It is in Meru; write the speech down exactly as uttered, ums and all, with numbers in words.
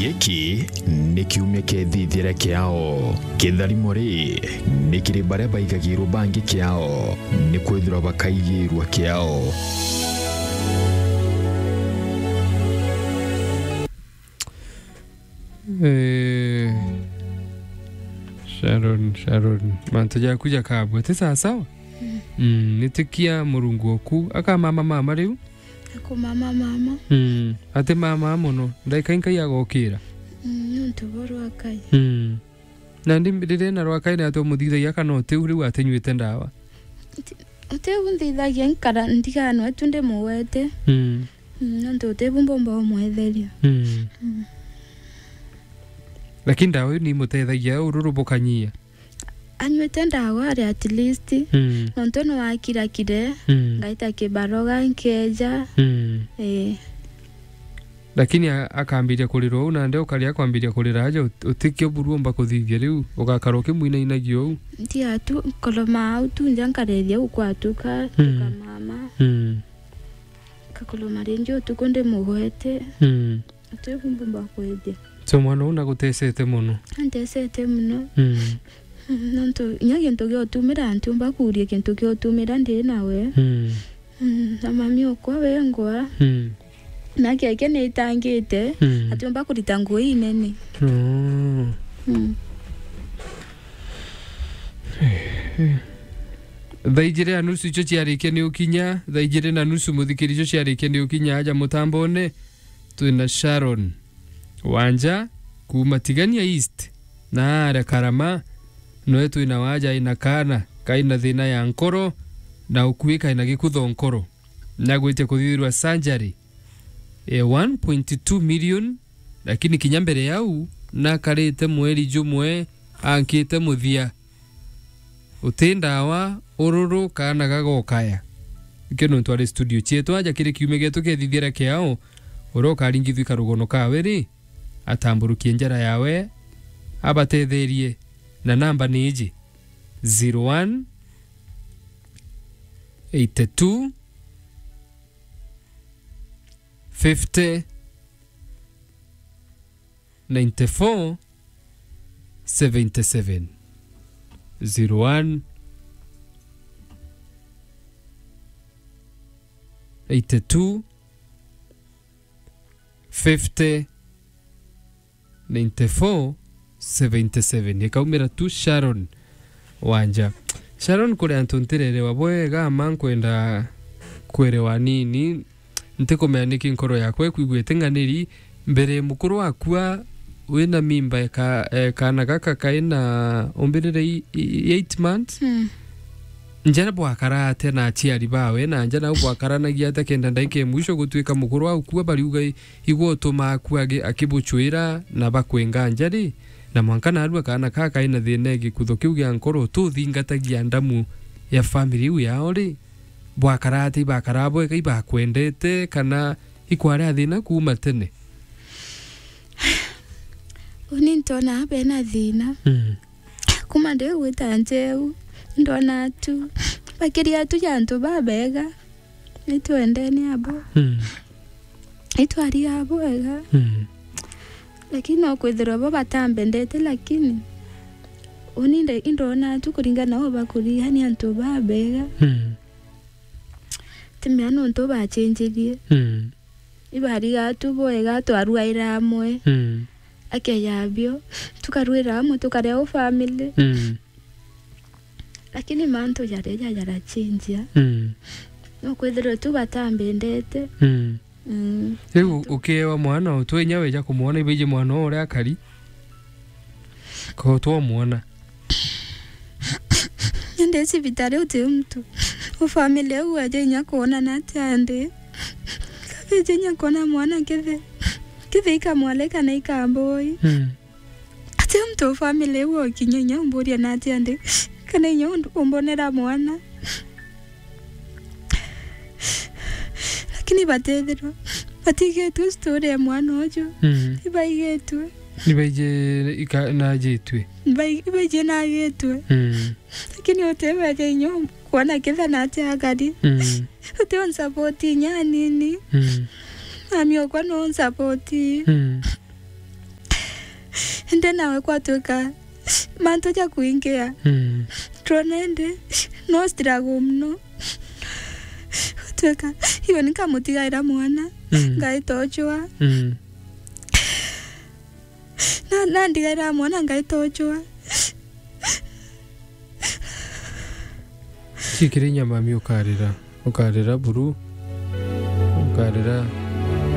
Giki ni kiumia kia ithithia ria kiao. Kitharimo ri ni kiri baria baigagirwo bangi kiao, ni kwithirwa bakaigirwa kiao. Eh, Sharon, Sharon, mantu jaku jakabwe ti sawa sawa? Mm, nitikia Murungu oku. Akamama mama riu? Akumama mama. Mm, ati mama mono. Ndaika inkai agokira? Mm, nontu bo rwakai. Mm. Nandi riria ena rwakai ni ati umuthithagia kana utiu riu atinyuite ndawa? Uti-, utiu nthithagia nkara ndiganwe tu ndimugwete. Mm. Mm, nontu utiu mbomba umwetheria. Mm. Mm. Lakini ndawa iu ni imutethagia ururu bukanyia? Anyuite ndawa ari at least. Mm. Nontu ni wakirakire, mm, ngaita kibaroga nkeja. Mm. Eh. Lakini a-, akambiria kurira uu, nandi ukari akwambiria kurira aja, ut-, utikio buru umba kuthithia riu, ugakara ukimwinainagia uu. Ntia tu, nkoroma au tu nja nkarethia uu kwatuka, mm, tukamama. Mm. Ngakoroma ringi utuku ndimugwete. Mm. Utiu mbumba kwithia. So mwana uu nagutecete mono? Antecete mono. Mm. Mm, nontu inya gintu gia utumira, ntiumba kuuria gintu gia utumira ndi nawe. Mm. Mm, na mami okwa wengwa. Mm. Na kiake ni itangite, mm, atiumba kurita nguo inene. Oh. Mm. Thaa ijiri na nusu icio ciarikia ni ukinya, thaa ijiri na nusu muthikiri icio ciarikia ni ukinya aja mutambone. Twina Sharon Wanja kuuma Tigania East, na aria Karama, noe twina waja ina kaana kaina thina ya nkoro, na ukui kaina gikutho nkoro. Nagwitia kuthithirwa surgery ya one point two million, lakini kinya mbere yau, nakarite mweri jumwe ankite muthia. Uti ndawa, ururu, kaana gagokaya. Ikio nontu ari studio cietu aja kiri kiumia gietu kiethithia ria kiao, uria ukaringithua karugono kawe ri, atamburukie njara yawe, abatetherie, na namba ni iji, zero one, eighty two, fifty, ninety four, seventy seven. Zero one, eighty two, fifty, ninety four, seventy seven. Ikaumira tu Sharon Wanja. Sharon, kuri antu ntirerewa bwega, ma nkwenda kwerewa nini. Ntikumenya niki nkoro yakwa ikwigua iting'aniri. Mbere mukuru wakua wina mimba eka-, e, kaana gaka kaina umbirire i-, i-, eight months. Mm. Nja bwakara atia na aciari bawe, na nja nau bwakaranagia atia kenda ndaika ya mwisho gutuika mukuru akua bariuga i-, igwe utuma akua agi-, akibucwira na bakwenga nja ri? Na mwanka narua kaana kaa kaina thina e gikutho kiu gia nkoro, tuthingatagia ndamu ya family iu yao ri? Bwakara atia? Ibakara bwega, ibakwendete, kana ikwarea thina kuuma tene? Uni ntona bena thina. Mm. Kuma ndi gwita njeu, ndona tu. Bakiria tu ja antu babega. Itwendene abo. Mm. Itwaria abo wega. Mm. Lakini no kwithirwa bo batambendete, lakini uni nde-, indona tu kuringana na ubakuria ni antu babega. Mm. Timea nontu bachenjirie. Mm. Ibariga tu bwega, twaruaira amwe. Mm. Akeya bio, tukaruira amwe, tukaria u family. Mm. Lakini mantu jaria jajarachenjia. Mm. No kwithirwa tu batambendete. Mm. Mm. Riu ukiewa mwana, utwe inya weja kumwona, ibaiji mwana uria akari. Ko twamwona. Ndi cibitari uti muntu. U family au aja inya kuona na atia ndi. Kabeja inya kuona mwana kithe. Kithe ikamwale kana ikamboi. Mm. Ati muntu u family au okinya inya umburia na atia ndi. Kana inya undu-, umbonera mwana. Lakini batethirwa. Batigetwe story ya mwana uju. Mm. Ibaigitwe. Nibaije ika-, najitwe. Bai-, ibaije nagitwe. Mm. Lakini utebeja inya kuona kitha na atia akari. Mm. Uti unsapoti inya anini. Mm. Mami okwa no unsapoti. Mm. Ndi nawe kwatwika mantu ja kuingia. Mm. Twona indi no struggle muno. Tweka, iwe nikamutigaira mwana, mm, ngaita ujua. Mm. Na, na ndigaira mwana, ngaita ujua. Cikiri nyamami ukarira, ukarira buru, ukarira.